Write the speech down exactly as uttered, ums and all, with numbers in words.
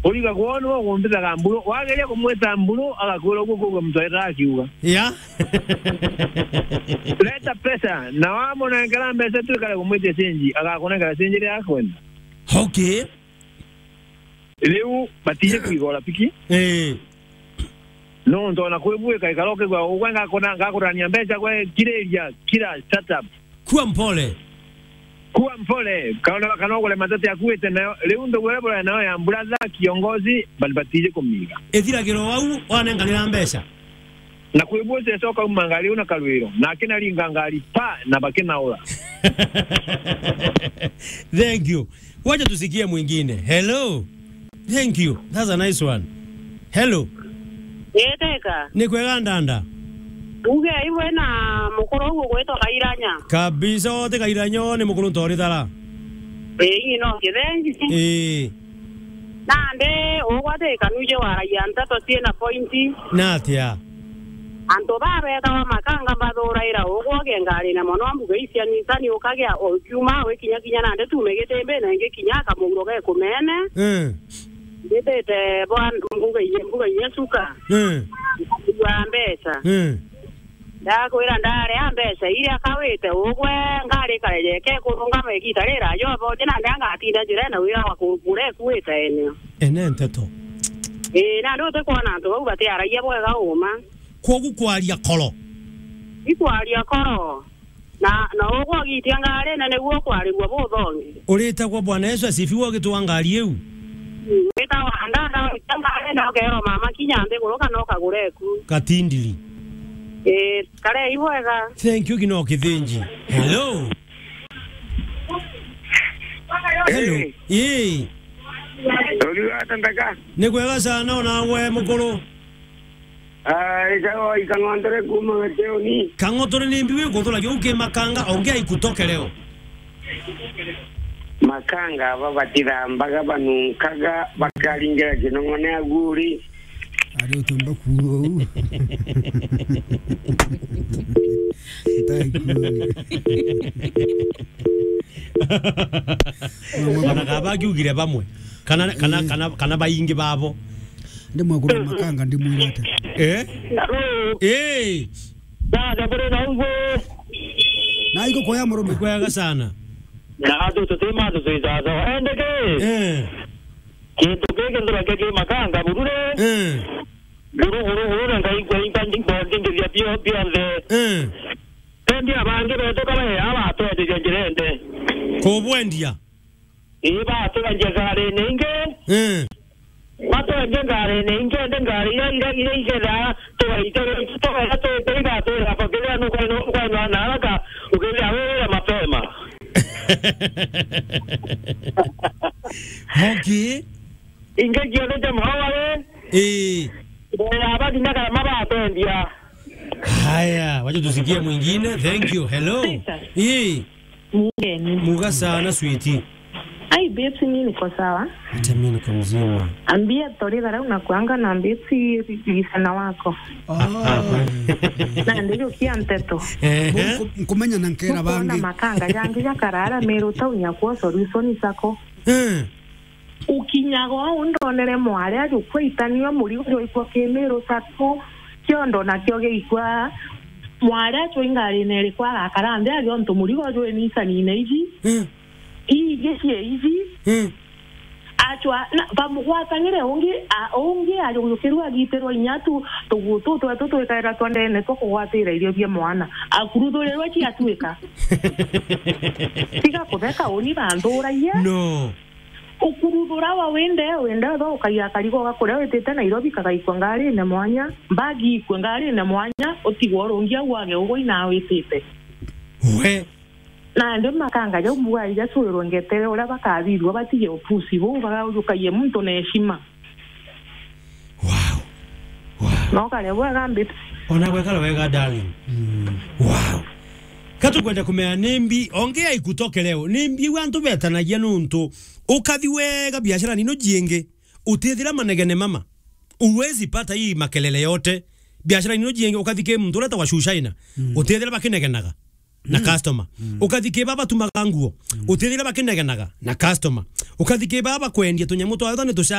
Uriga kwoo niwe ugumbithaga mburu. Wageria kumwita mburu, agakwira uguo kuuga muntu aita akiuga. Ya. Leta pesa, na wamunengera mbeca twikare kumwitia cenji, agakunengera cenji iria akwenda. Okay. Riu batije kwiga urafiki. Eh. Nontu ona kwi bu ikaikara ukigwa ugwe ngakuna-, ngakurania mbeca gwe kiriria kira startup. Kuwa mpole. Kuwa mpole. Kana, kana ugure matatu yaku wite nayo. Riu ndugu iria burae nayo ya brother kiongozi, bali batije kumiga. Ithiragirwa wau, wanenganira mbeca. Na kwi bu ucece ukauma ngari iu na karwiro. Na akinaringa ngari pa, na bakinaura. Thank you. Wacha tusikie mwingine. Hello. Thank you. That's a nice one. Hello. Ii, teka. Ni kwega ndanda? Uge iwe na mukuru uguo gwitwa Kairanya. Kabisa, wote Kairanya, ni mukuru ntori thara. Ii, no kithenji. Ii. Nandi, ugwa ti kanuje waragia nteto ciina pointi. Na atia? Antu babetawa makanga mbathuraira ugwa uge ngarine mono mbuga icia nisa ni ukagia ukiuma wikinya kinya nandi tume gitimbine ngikinya akamuguro ge kumene. Eh. Mbitite bwa mbuga iye, mbuga iye suka. Eh. Nkagua mbeca. Eh. Ndakwira ndaria mbeca iria kawite ugwe ngari karejeke kurungama igita riraja obote na ndia ngatinda njirene wira wa kugura ekuite eneo. Ene nteto. Ii, nandi utikwona antu bau batiaragia bwega uma. Kwogu kwaria koro. Ikwaria koro. Na, na ugwe ugitia ngarine niguo ukwarigua buthongi. Uritagwa Bwana Yesu asifiwe ugitwa ngari iu. Mm, witawa ndanda, ugitia ngarine ukerwa mama kinya nthiguru kana ukagure eku. Katindili. Ii, kare ibwega. Thank you, kino kithinji. Hello. Hello. Hey. Ii. Uriga ata ndaka? Ni kwega sana, o nawe mukuru? Ah, ikawa ikang'ondore kuma Gacheoni. Kang'otore ni mbi wi kuthuragia u ki makanga, onge aikutoke leo. Makanga aba batithambaga, banunkaga, bakaringira kinong'one aguri. Ari utumba kuo u. Ntai kuo. Ona kaba akiugire bamwe. Kana, kana, mm, kana, kana baingi babo. Ndi mwakuru makanga, ndi mwirate. Eh? Hello. Eh. Dada, bure na ugo. Na iko kwa ya murume. Kwega sana. Na atu tutima tu twi tata. Endeke. Eh. Kintu kiki ndurake ki makanga burure. Eh. Buru, buru, buru, na ngai kwa inka ndi kwa ndingi ya pio, pio nde. Eh. Endi abangi betu kaba ya batwete njirende. Kubwendia. Ii, batuganjia ngarine ingi. Eh. Batwenje ngarine ingi, ende ngari iria, iria, iria igetha, tugaite, tugaita, tugaita, tugaita, tugaita, nukwenu, nukwenu na haraka, ukethia wira mapema. Okay. Ingi kionthe kia mao bari. Ii. Mbere ya bakinya karama batwendia. Haya, wacha tusikie mwingine. Thank you. Hello. Peter. Ii. Mgeni. Muga sana, sweetie. Ai, babes, mimi niko sawa. Hata mimi niko mzima. Ambia tori dharau na kuanga na babes, vijana wako. Oh. Na ndio kia nteto. Ehe. Nku-, nkumenya na nkera. Mukuona bangi. Makanga jangi jakarara Meru town ya kwa solution sako. Eh. Ukinyaga uu ndonere mwari ajukua itanio murigo jwaikwa Kimiru Sacco, kiondo nakio giikwa mwari acwa ingarine irikwa agakara nthi aria untu murigo jwi nisanine iji. Mm. Ii igi cie iji. Mm. Acwa, na bamugwatagire ungi, a, ungi ajuyukirua agitirwa inya tu, tugutu twetu twikaira twa ndene twa kugwatira irio bia mwana. Akuruthurirwe ki atuika? Tiga kutheka uni banthuragia. No. Ukuruthura wa winde, winde utho ukagia karigo gakuria witite Nairobi kagaikua ngarine mwanya, mbagi ikue ngarine mwanya, utigwe urungi au wage ugwe ina witite. We. Na ndio makanga jau mbuga ija cuirwe ngetere uria bakathithua batige upusi buu bagaujukagie muntu na heshima. Wow. Wow. No kare bwega mbiti. Ona gwekara wega, darling. Mm. Wow. Katukwenda kumenya ni mbi, ongea ikutoke leo. Ni mbi iu antu betanagia nuntu ukathi wega biashara nino jiingi, utithira manegene mama. Uwezi pata hii makelele yote. Biashara nino jiingi, ukathi ki muntu ureta wa Shushaina. Mm. Utithira bakinegenaga na, mm, customer. Mm. Ukathi ki baba tumaga nguo. Mm. Utithira bakinegenaga na customer. Ukathi ki baba kwendia tunyamu twa thone tuca